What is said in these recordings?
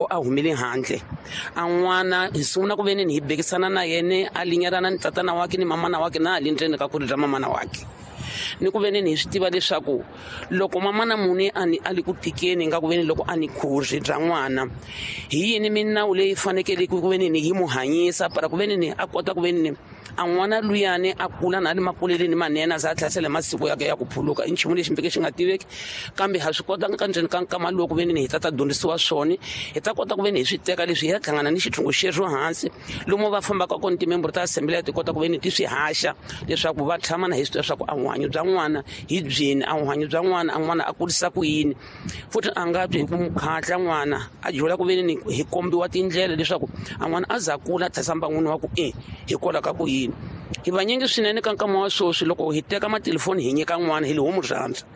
Loko a humile handle a n'wana hi sungula ku veni hi bekisana na yena a linyelana ni tatana wake ni mamana wake na hali ndzeni ka khuri ra mamana wake, ni ku veni hi swi tiva leswaku loko mamana muni a ni a li ku tikeni nga ku veni loko a ni khuri bya n'wana, hi yini minawu leyi fanekele ku veni ni yi mu hanyisa para ku veni ni a kota ku veni ni a n'wana luyani a kula na le makuleleni manene, a za a tlhasela masiku yake ya ku phuluka. I nchumu lexi mpfeke xi nga tiveki, kambe ha swi kota ka ndzeni ka nkama lowu ku veni ni hi ta dyondzisiwa swona, hi ta kota ku veni hi swi teka leswi hi ya hlangana ni xithungu xexo hansi lomu va fambaka kona timemburu ta assembly ti kota ku veni ti swi haxa leswaku va tshama na hi swi tiva leswaku a vuhanyo bya n'wana hi byini, a vuhanyo bya n'wana a n'wana a kurisa ku yini. Futhi a nga twi hi ku mukhatla n'wana a dyula ku veni ni hi kombiwa tindlela leswaku a n'wana a za kula a tlhasa mbangwini wa ku e hikwalaho ka ku yini. Hi vanyingi swinene ka nkama wa sweswi loko hi teka matelefoni hi nyika n'wana hi li homu rhandza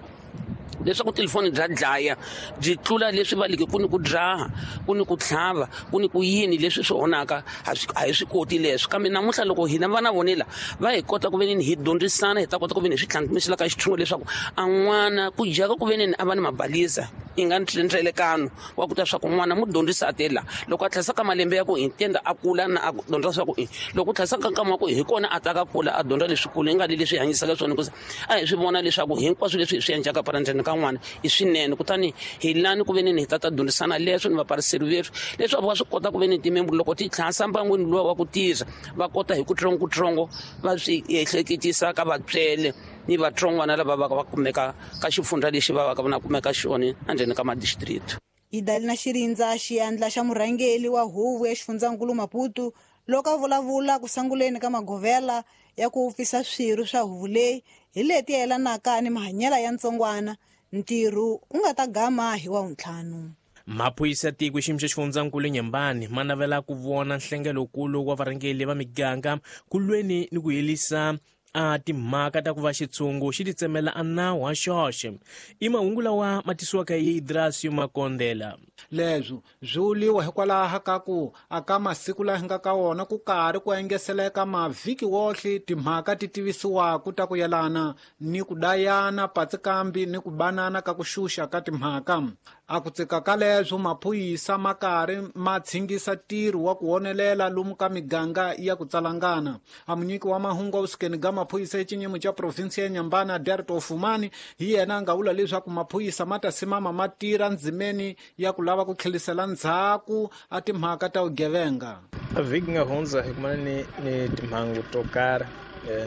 leswaku telefoni bya dlaya byi tlula leswi va leke ku ni ku dzaha, ku ni ku tlhava, ku ni ku yini leswi swi onhaka, a hi swi koti leswi. Kambe namuntlha loko hina vana vonela va hi kota ku veni hi dyondzisana, hi ta kota ku veni hi swi tlhantlhisela ka xithungo leswaku a n'wana ku dyaka ku veni a va ni mabalisa i nga ndzelekano wa ku ta swa ku n'wana mu dyondzisa a tela loko a tlhasa ka malembe ya ku hi tenda a kula na a dyondza swa ku i loko u tlhasa ka nkama wa ku hi kona a ta ka kula a dyondza leswikulu i nga li leswi hanyisaka swona, hikuva a hi swi vona leswaku hinkwaswo leswi hi swi endlaka para ndzeni ka n'wana i swinene. Kutani hi lani ku veni hi ta dyondzisana leswo ni vapariseri vethu leswaku va swi kota ku veni timembulu loko ti tlhasa mbangwini luwa wa ku tirha va kota hi kutsongokutsongo va swi ehleketisa ka vatswele ni vatsongwana lava va va kumeka ka xifundza lexi va va ka va kumeka xona endzeni ka madistrict. Idalina Xirindza, xiyandla xa murhangeri wa huvo ya xifundzankulu Maputo, loko a vulavula ku sunguleni ka magovela ya ku wupfisa swirho swa huvo leyi hi leti yelanaka ni mahanyelo ya ntsongwana, ntirho wu nga ta gama hi wa wuntlhanu. Maphorisa ya tiko xiyimo xa xifundzankulu Nyembani ma navela ku vona nhlengelokulu wa varhangeri va miganga ku lweni ni ku herisa a timhaka ta ku va xitshungu xi titsemela a nawu wa xoxe. I mahungu lawa ma tisiwaka hi Idrasio Makondela. Leswi swi vuliwa hikwalaho ka ku aka masiku laha hi nga ka wona ku karhi ku engeseleka mavhiki wohle timhaka ti tivisiwaku ta ku yelana ni ku dayana patsikambi ni ku banana ka ku xuxa ka timhaka. A ku tsika ka leswo maphorisa ma karhi ma tshingisa ntirho wa ku honelela lomu ka miganga ya ku tsalangana. A munyiki wa mahungu wa vusukeni ga maphorisa exinyimo xa provinsi ya Nyambana Derto Fumani hi yena a nga vula leswaku maphorisa ma ta simama ma tirha ndzimeni ya ku lava ku tlherisela ndzhaku a timhaka ta vugevenga. A vhiki nga hundza hi kumana ni timhangu to karhi.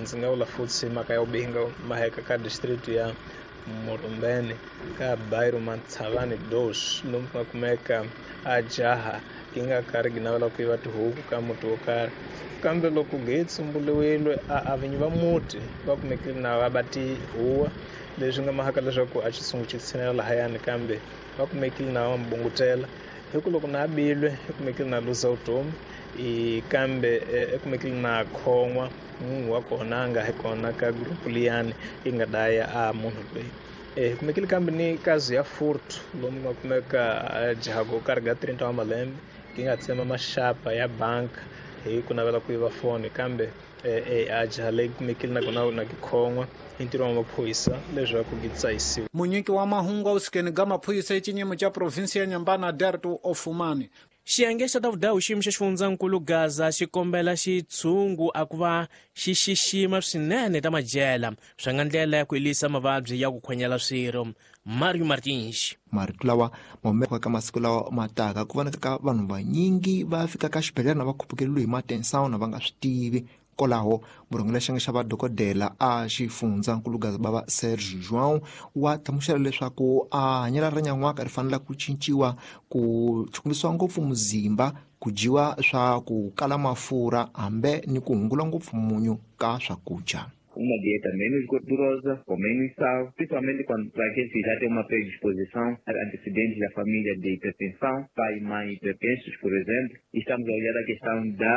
Ndzi nga vula futhi mhaka ya vubihi maheka ka district ya Murumbeni ka Bairro Matshavani dos lomu ku nga kumeka a jaha yi nga karhi yi navela ku yiva tihuku ka muti wo karhi, kambe loko ge tsumbuliwile a vinyi va muti va kumekile na va ba tihuwa, leswi nga mahaka leswaku a xitshungu xi tshinela lahayani, kambe va kumekile na va mbungutela hi ku loko na bilwe i kumekile na luza vutomi, kambe i kumekile na khon'wa munhu wa kona a nga hi kona ka group liyani yi nga daya a munhu loyi. Hi kumekile kambe ni kazi ya furtu lomu nga kumeka jaha go karhi ga 30 wa malembe yi nga tsema maxapa ya bank hi ku navela ku yiva foni, kambe a jaha leyi kumekile na kona na ku khon'wa hi ntirho wa maphorisa leswaku yi tsayisiwa. Munyiki wa mahungu wa vusukeni ga maphorisa exinyimo xa provinsi ya Nyambana Derto Ofumani. Xiyenge xa ta vudawu xiyimo xa xifundzankulu Gaza xi kombela xitshungu a ku va xi xixima swinene ta madyela swi nga ndlela ya ku herisa mavabyi ya ku khwenyela swirho. Mario Martins. Marito lawa ma humeka ka masiku lawa ma taka ku vonaka ka vanhu vanyingi va fika ka xibedhlele na va khupukeliwe hi matensawuna va nga swi tivi. Kwalaho murhangeri xiyenge xa vadokodela a xifundzankulu Gaza bava Serge João wa hlamusela leswaku a hanyelo ra nyan'waka ri fanele ku cinciwa ku chukumisiwa ngopfu muzimba, ku dyiwa swa ku kala mafurha hambe ni ku hungula ngopfu munyu ka swakudya. Uma dieta menos gordurosa, com menos sal, principalmente quando para aqueles que já têm uma predisposição a antecedentes da família de hipertensão, pai e mãe hipertensos, por exemplo. Estamos a olhar a questão da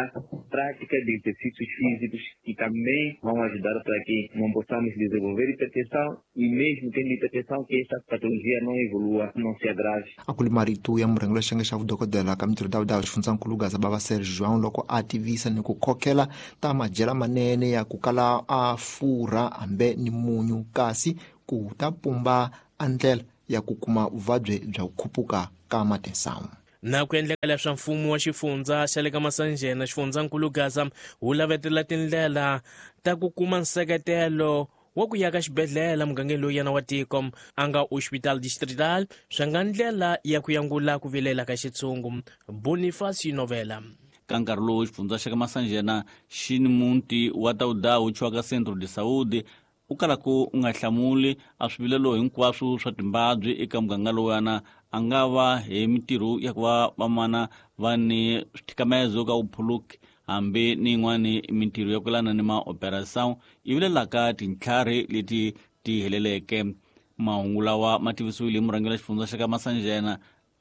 prática de exercícios físicos que também vão ajudar para que não possamos desenvolver hipertensão e mesmo tendo hipertensão que esta patologia não evolua, não se agrave. A ku li marito ya murhangeri wa xiyenge xa vudokodela ka mintirho ta xifundzankulu Gaza bava Serge João loko a tivisa ni ku khokhela ta madyela manene ya ku kala a furha hambe ni munyu, kasi ku ta pumba a ndlela ya ku kuma vuvabyi bya ku khupuka ka matinsamu. Na ku endleka leswa mfumo wa xifundza xa le ka Masanjena xifundzankulu Gaza wu lavetela tindlela ta ku kuma nseketelo wa ku ya ka xibedhlele mugangeni lowu yena wa tiko a nga hospital distrital swi nga ndlela ya ku yangula ku vilela ka xitshungu. Boniface Novela. Ka nkarhi lowu xifundza xa ka Masanjena xi ni muti wa Tawudawu chiwaka Centro de Saúde u kalaka u nga hlamuli a swivilelo hinkwaswo swa timbabyi eka muganga lowuyana a nga va hi mitirho ya ku va vamana va ni swithikamezo ka vuphuluki hambi ni yin'wani mintirho ya ku lana ni maoperação yi vilelaka tintlhari leti ti heleleke. Mahungu lawa ma tivisiwile hi murhangeri wa xifundza xa ka Masanjena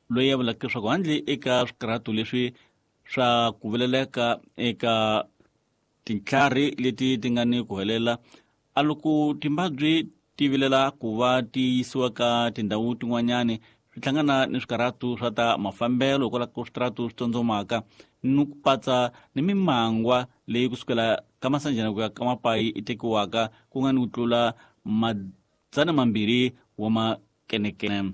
loyi a vulaka leswaku handle eka swikarhato leswi swa ku vileleka eka tintlhari leti ti nga ni ku helela a loko timbabyi ti vilela ku va ti yisiwa ka tindhawu tin'wanyani swi hlangana ni swikarhato swa ta mafambelo hikwalaho ka switaratu swi tsondzomaka ni ku patsa ni mimangwa leyi kusukela ka Masanjena ku ya ka Mapayi i tekiwaka ku nga ni ku tlula 200 wa makenekene.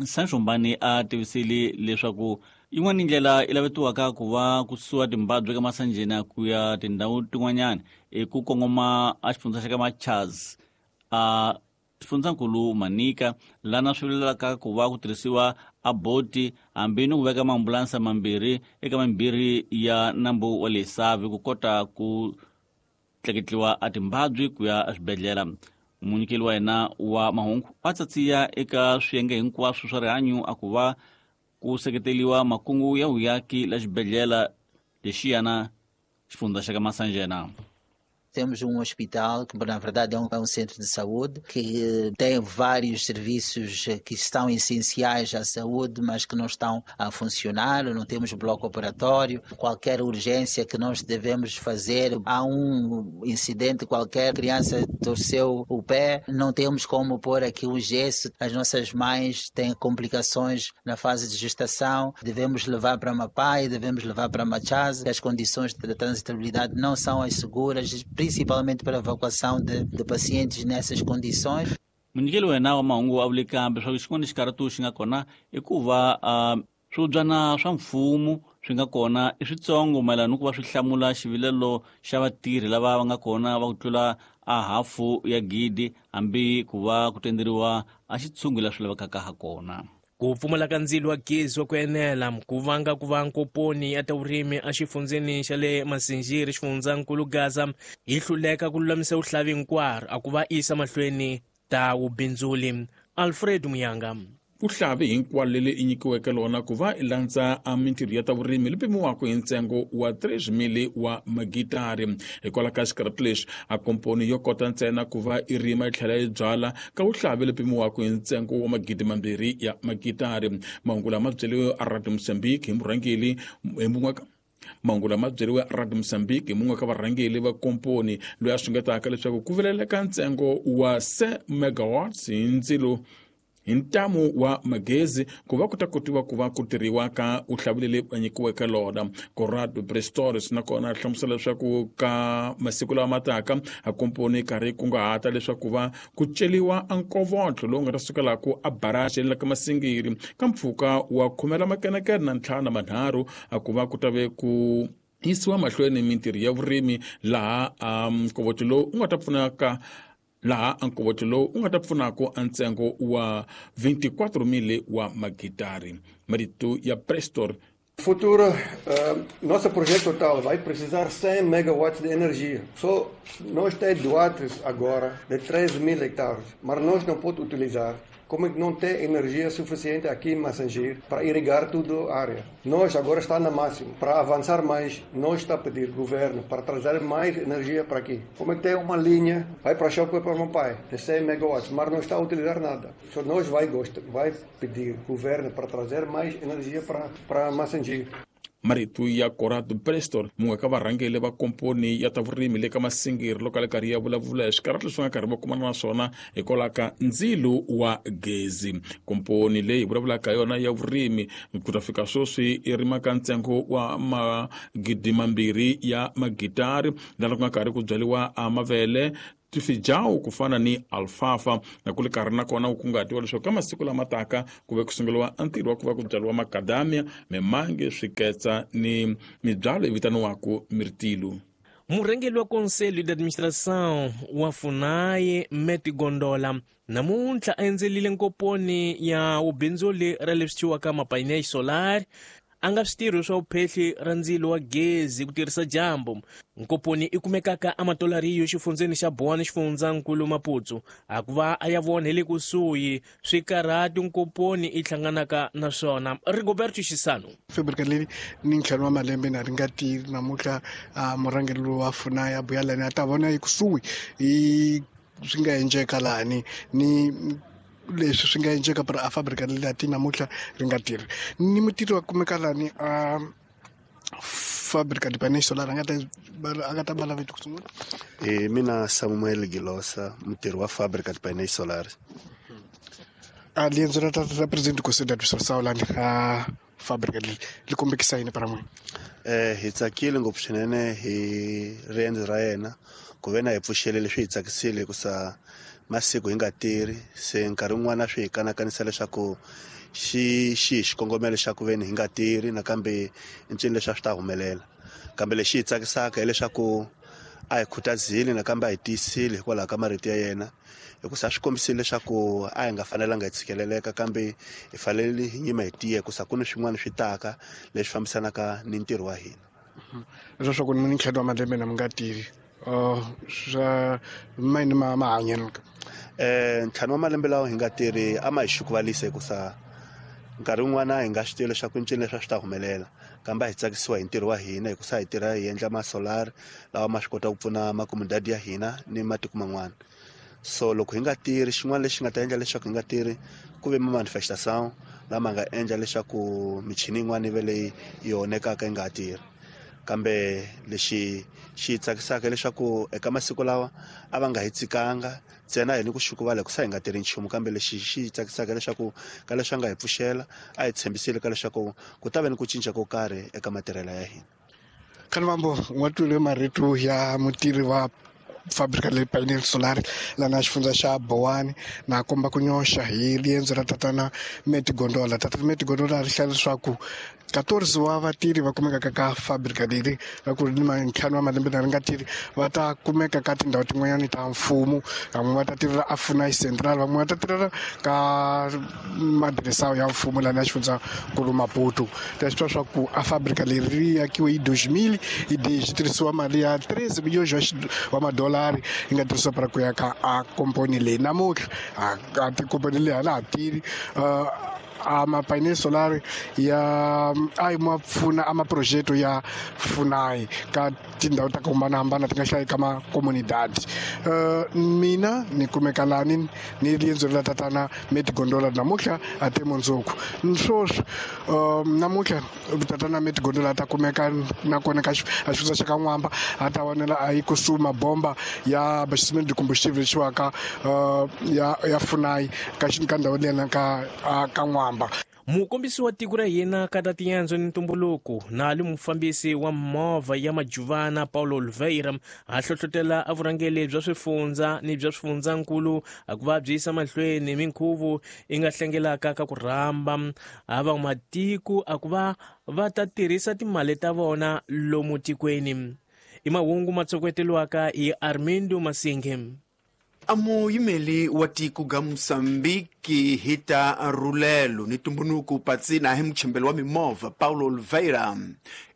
Sancho Mbani a tivisile leswaku yin'wana ndlela yi lavetiwaka ku va ku susiwa timbabyi ka Masanjena ku ya tindhawu tin'wanyana i ku kongoma a xifundza xa ka Machaz a xifundzankulu Manika lana swi vilelaka ku va ku tirhisiwa a boti hambi ni ku veka maambulansa mambirhi eka mambirhi ya nambu wa le Savi ku kota ku tleketliwa a timbabyi ku ya eswibedhlele. Munyikeli wa yena wa mahungu a tsatsiya eka swiyenge hinkwaswo swa rihanyo a ku va ku seketeliwa makungu ya vuyaki la xibedhlele lexiyana xifundza xa ka Masanjena. Temos um hospital que, na verdade, é um centro de saúde que tem vários serviços que estão essenciais à saúde, mas que não estão a funcionar. Não temos bloco operatório. Qualquer urgência que nós devemos fazer, há um incidente qualquer, criança torceu o pé, não temos como pôr aqui um gesso. As nossas mães têm complicações na fase de gestação, devemos levar para Mapai, devemos levar para Machaz. As condições de transitabilidade não são as seguras, principalmente para a evacuação de pacientes nessas condições. Munyikeli wa hina wa mahungu a vule kambe leswaku xin'wana xikarhato xi nga kona i ku va swibyana swa mfumo swi nga kona i switsongo mayelana ni ku va swi hlamula xivilelo xa vatirhi lava va nga kona va ku tlula a hafu ya gidi hambi ku va ku tenderiwa a xitshungu la swi lavekaka ha kona. Ku pfumala ka ndzilo wa gezi wa ku enela ku vanga ku va nkoponi ya ta vurimi exifundzeni xa le Masinjiri xifundzankulu Gaza yi hluleka ku lulamisa vuhlavi hinkwaro a ku va yisa mahlweni ta vubindzuli. Alfred Muyanga. Vuhlavi hinkwalo leri i nyikiweke lona ku va i landza a mintirho ya ta vurimi li pimiwaka hi ntsengo wa 3,000 wa magitari. Hikwalaho ka xikarhato lexi a komponi yo kota ntsena ku va i rima yi tlhela yi byala ka vuhlavi li pimiwaka hi ntsengo wa 2,000 ya magitari. Mahungu lama byeriwe a Radio Mozambique hi murhangeri hi mun'we mahungu lama byeriwe Radio Mozambique hi mun'we ka varhangeri va komponi loyi a xungetaka leswaku ku vileleka ntsengo wa 100 megawatts hi ndzilo hi ntamu wa magezi ku va ku ta kotiwa ku va ku tirhiwa ka vuhlavi leri va nyikiweke lona. Corrado Prestores nakona a hlamusela leswaku ka masiku lawa ma taka a komponi karhi kunguhata leswaku va ku celiwa a nkovotlo lowu nga ta sukelaku a baraji la ka Masingiri ka mpfhuka wa 15 a ku va ku ta ve ku yisiwa mahlweni mintirho ya vurimi laha a nkovotlo lowu u nga ta pfunaka laha nkovotlo lowu u nga ta pfunaka a ntsengo wa 24,000 wa magitari. Marito ya Prestor. Futuro, nosso projeto total vai precisar 100 megawatts de energia. Só nós temos doados agora de 3.000 hectares, mas nós não podemos utilizar. Como não tem energia suficiente aqui em Massangir para irrigar toda a área. Nós agora está na máxima. Para avançar mais, nós está a pedir governo para trazer mais energia para aqui. Como é que tem uma linha, vai para Chókwè para Mapai, de 100 megawatts, mas não está a utilizar nada. Só nós vai pedir governo para trazer mais energia para Massangir. Marito ya Corrado Prestor mun'we ka varhangeri va komponi ya ta vurimi le ka Masingiri loko a le karhi ya vulavula hi swikarhato leswi nga karhi va kumana na swona hikwalaho ka ndzilo wa gezi. Komponi leyi vulavulaka yona ya vurimi ku ta fika sweswi i rimaka ntsengo wa 2,000 ya magitari laha ku nga karhi ku byariwa a mavele, tifijawu ku fana ni alfalfa na ku ri karhi nakona ku kungahatiwa leswaku ka masiku lama taka ku ve ku sunguriwa ntirho wa ku va ku byariwa makadamia, mimange, swiketsa ni mibyalo yi vitaniwaka mirtilu. Murhangeri wa Conselho de Administração wa FUNAI Meti Gondola namuntlha a endzelile nkoponi ya vubindzuli ra leswi thyiwaka mapainéis solar a nga switirho swa vuphehli ra ndzilo wa gezi ku tirhisa dyambu. Nkoponi i kumekaka ematolariyo xifundzeni xa Boane xifundzankulu Maputo a ku va a ya vona hi le kusuhi swikarhati nkoponi i hlanganaka na swona. Rigoberto Xisano. Fábrica leyi ni ntlhanu wa malembe na ri nga tirhi namuntlha murhangeri lowu wa FUNAI a buya lani a ta vona ekusuhi hi swi nga endleka lani ni leswi swi nga endleka para a fábrica leyi ti namuntlha ri nga tirhi ni mutirhi wa kumeka lani a fábrica de painéis solar a nga ta bala vito ku sungula. Mina Samuel Gilosa, mutirhi wa fábrica de painéis solar. A riendzo ra ra presidente Conselho de Administração lani a fábrica leyi li kombekisa yini para n'wina? Hi tsakile ngopfu swinene hi riendzo ra yena ku ve na hi pfuxele leswi hi tsakisile hikusa masiku hi nga tirhi se nkarhi wun'wana swi hi kanakanisa leswaku xi xi xikongomelo xa ku ve ni hi nga tirhi nakambe i ncini leswi a swi ta humelela kambe lexi hi tsakisaka hileswaku a hi khutazile nakambe a hi tiyisile hikwalaho ka marito ya yena hikusa swi kombisile leswaku a hi nga fanelanga hi tshikeleleka kambe hi fanele hi nyima hi tiya hikusa ku ni swin'wana swi taka leswi fambisanaka ni ntirho wa hina. Leswaku ni ntlhanu wa malembe na mi nga tirhi swa mayini ma mahanyelo ntlhanu wa malembe lawa hi nga tirhi a ma hi xukuvalisa hikusa nkarhi wun'wana hi nga swi tivi leswaku ncini leswi a swi ta humelela kambe a hi tsakisiwa hi ntirho wa hina hikusa hi tirha hi endla ma-solar lawa ma swi kota ku pfuna makomodadi ya hina ni matiko man'wana. So loko hi nga tirhi xin'wana lexi nga ta endla leswaku hi nga tirhi ku ve ma-manifestation lama nga endla leswaku michini yin'wana yi ve leyi yi onhekaka yi nga ha tirhi kambe lexi xi tsakisaka leswaku eka masiku lawa a va nga hi tsikanga ntsena hi ni ku xukuvala hikusa hi nga tirhi nchumu kambe lexi xi tsakisaka leswaku ka leswi a nga hi pfuxela a hi tshembisile ka leswaku ku ta va ni ku cinca ko karhi eka matirhelo ya hina. Khanivambo wa twile marito ya mutirhi wa fábrica leyi painel solar lana xifundza xa Boane na komba ku nyoxa hi riendzo ra tatana Meti Gondola. Tatana Meti Gondola ri hlaya leswaku 14 wa vatirhi va kumekaka ka fábrica leri va ku ri ni ntlhanu wa malembe na ri nga tirhi va ta kumeka ka tindhawu tin'wanyani ta mfumo, van'we va ta tirhela a FUNAI Central, van'we va ta tirhela ka madiresa ya mfumo lana xifundzankulu Maputo. Ta swi twa swa ku a fábrica leri ri akiwe hi 2000 hi swi tirhisiwa mali ya 13 miliyoni wa madolari yi nga tirhisiwa para ku ya ka a komponi leyi. Namuntlha a tikomponi leyi a la ha tirhi. A mapainéis solar ya a yi ma pfuna a maprojeto ya FUNAI ka tindhawu ta ku hambanahambana ti nga hlayi ka makomunidadi. Mina ni kumeka lani ni riendzo ra tatana Meti Gondola namuntlha a te mundzuku swoswi namuntlha tatana Meti Gondola ta kumeka nakona ka a xifundza xa ka N'wamba a ta vonela a yi kusuhi mabomba ya abastecimento de combustível lexiwaka ya FUNAI ka ka ndhawu leyana ka ka N'wamba. Mukombisi wa tiko ra hina ka ta tiendzo ni ntumbuluko na li mufambisi wa movha ya Majuvana Paulo Oliveira a hlohlotela a vurhangeri bya swifundza ni bya swifundzankulu a ku va byi yisa mahlweni minkhuvo yi nga hlengelaka ka ku rhamba a van'wamatiko a ku va va ta tirhisa timali ta vona lomu tikweni. I mahungu ma tsokoteliwaka hi Armindo Masinge. A muyimeli wa tiko ga Mosambiki hita rulelo ni tumbunuku patsina hi muchembelo wa mimovha Paulo Oliveira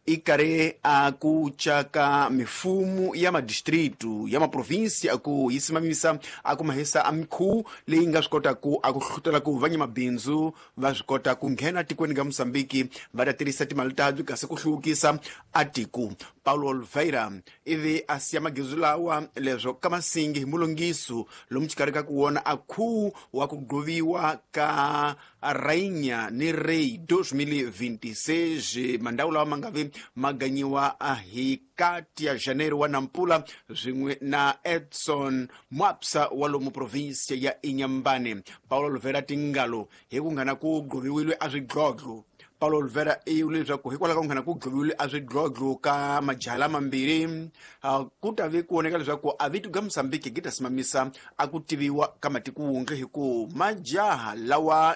i karhi a ku caka mifumo ya madistritu ya maprovinsi a ku yi simamisa a ku mahisa a mikhuwu leyi nga swi kota ku a ku hlutela ku vanyamabindzu va swi kota ku nghena tikweni ga Mosambiki va ta tirhisa timali tabyi kasi ku hluvukisa a tiko. Paulo Oliveira ivi a siya magezu lawa leswo ka masingi hi mulongiso lomu xikarhi ka ku wona a khuwu wa ku gqoviwa ka Rainha ni Rei 2026 mandhawu lawa ma nga vi ma ganyiwa hi kati ya Janeiro wa Nampula swin'we na Edson Mwapsa wa lomu provinsia ya Inhambane. Paulo Oliveira tingalo hi ku nghana ku gqoviwile a swidlodlo Paulo Oliveira i vule leswaku hikwalaho ka ku nghena ku dloviwile a swidlodlo ka majaha lamambirhi, ku ta ve ku voneka leswaku a vito ga Mozambique gi ta simamisa a ku tiviwa ka matiko wundle, hi ku majaha lawa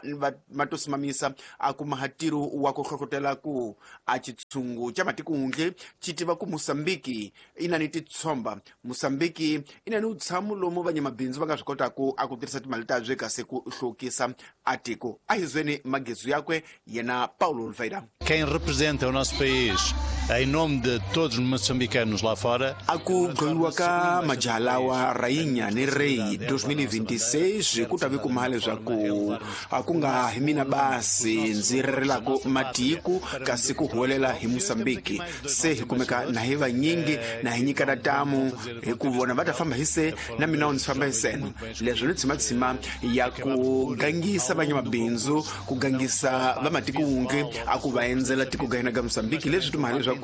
ma to simamisa a kuma ntirho wa ku hlohlotela ku a xitshungu xa matiko wundle xi tiva ku Mozambique i na ni titshomba, Mozambique i na ni vutshamo lomu vanyamabindzu va nga swi kotaku a ku tirhisa timali ta bye kasi ku hluvukisa a tiko. A hi zweni magezu yakwe yena Paulo Oliveira. Quem representa o nosso país em nome de todos os moçambicanos lá fora. A ku dloyiwa ka majaha lawa Rainha ni Rei 2026 ku ta ve kuma leswaku a ku nga hi mina basi ndzi rirelaka matiko, kasi ku huwelela hi Mozambique. Se hi kumeka na hi vanyingi na hi nyikana tamu hi ku vona va ta famba hi se na mina ndzi famba hi seno. Leswi ni tshimatshima ya ku gangisa vanyamabindzu, ku gangisa vamatiko wunge a ku va endzela tiko ga hina ga Mozambique, leswi tumahale leswaku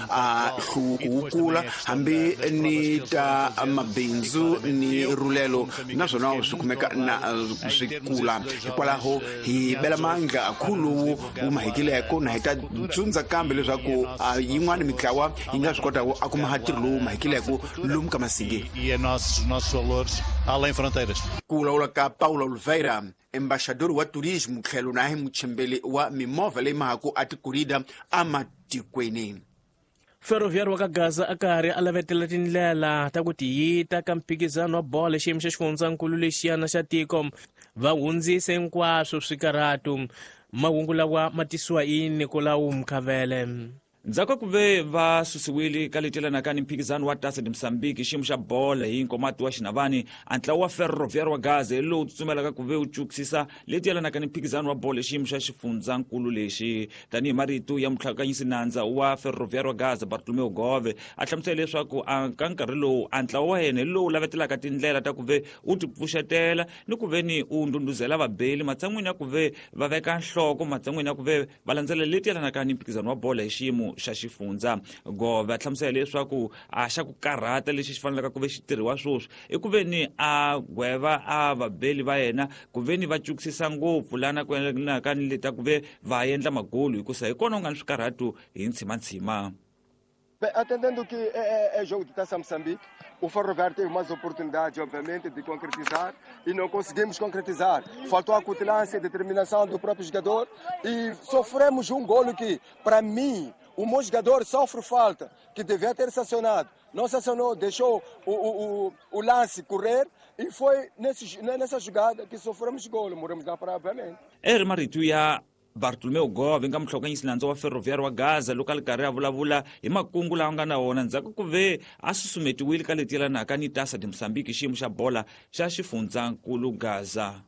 a hluvuko wu kula hambi ni ta mabindzu ni rulelo naswona swi kumeka na swi kula. Hikwalaho hi bela mandla khulu wu mahikileko na hi ta tsundza kambe leswaku yin'wana mitlawa yi nga swi kotaka a kuma ntirho lowu mahikileko lomu ka Masinge. E nossos valores além fronteiras. Ku vulavula ka Paulo Oliveira, embaixador wa turismo tlhelo na hi muchembeli wa mimovha leyi mahaku a tikurida amatikweni. Ferroviário wa ka Gaza a karhi a lavetela tindlela ta ku tiyita ka mphikizano wa bolo xiyimo xa xifundzankulu lexiyana xa tiko, va hundzise hinkwaswo swikarhatu. Mahungu lawa ma tisiwa hi Nicolau Mkhavele. Ndzhaku ka ku ve va susiwile ka leti yelanaka ni mphikizano wa Taça de Moçambique xiyimo xa bolo hi nkomati wa Xinavani, a ntlawa wa Ferroviário wa Gaza hi lowu tsutsumelaka ku ve wu cukisisa leti yelanaka ni mphikizano wa bolo xiyimo xa xifundzankulu lexi. Tanihi marito ya mutlhakanyisi nandza wa Ferroviário wa Gaza Bartolomeu Gove, a hlamusela leswaku a ka nkarhi lowu a ntlawa wa yena hi lowu lavetelaka tindlela ta ku ve u ti pfuxetela ni ku ve ni u ndhundhuzela vabeli matshan'wini ya ku ve va veka nhloko, matshan'wini ya ku ve va landzela leti yelanaka ni mphikizano wa bolo hi xiyimo xa xifundza. Gove a hlamusela leswaku a xa ku karhata lexi xi fanelaka ku ve xi tirhiwa sweswi i ku ve ni a gweva a vabeli va yena ku ve ni va cukisisa ngopfu lana ku yelanaka ni leta ku ve va endla magolu, hikusa hi kona u nga ni swikarhatu hi ntshimantshima. Bem, atendendo que é jogo de Taça Moçambique, o Ferroviário teve mais oportunidades, obviamente, de concretizar e não conseguimos concretizar. Faltou a cutilância e determinação do próprio jogador e sofremos um golo que, para mim, o meu jogador sofre falta, que devia ter sancionado. Não sancionou, deixou o lance correr e foi nessa jogada que sofremos golo. Morremos lá para, obviamente. Eri marito ya Bartolomeu Gove nga muhlokanyisi nandza wa Ferroviário wa Gaza loko a ri karhi a vulavula hi makungu lawa nga na wona ndzhaku ku ve a susumetiwile ka leti yelanaka ni Taça de Moçambique xiyimo xa bola xa xifundzankulu Gaza.